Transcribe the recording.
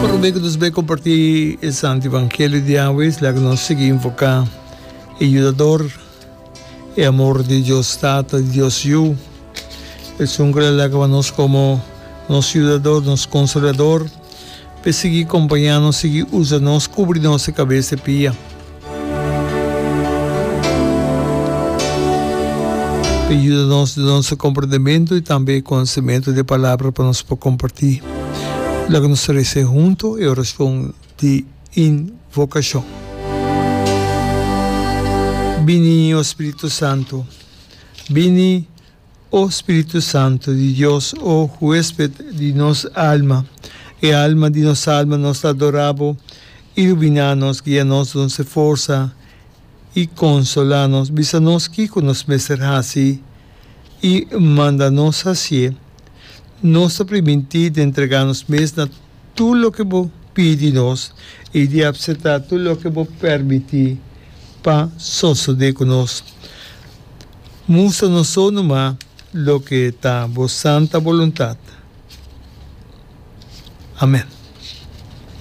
Prome ku nos bai kompartí e Santu Evangelio di awe, laga nos sigui invoká e Yudador, e amor di Dios Tata, di Dios Yu, esun ku a laga pa nos komo nos Yudador, nos Konsolador, p'e sigui kompañá nos, sigui usa nos, kubri nos e kabes e pia. P'e yuda nos den nos komprendementu i tambe e konosementu di e Palabra pa nos por kompartí. Laga nos resa huntu e orashon di invokashon. Bini, o Spiritu Santu, bini, o Spiritu Santu di Dios, o huesped di nos alma, e alma di nos alma, nos ta adorá Bo, iluminá nos, guia nos, duna nos e forsa i konsolá nos, bisa nos kiko nos mester hasi i manda nos hasié. Nos ta primintí di entregá nos mes na tur loke Bo pidi nos i di apseptá tur loke Bo permití pa sosodé ku nos. Mustra nos so numa loke ta Bo santa boluntat. Amèn.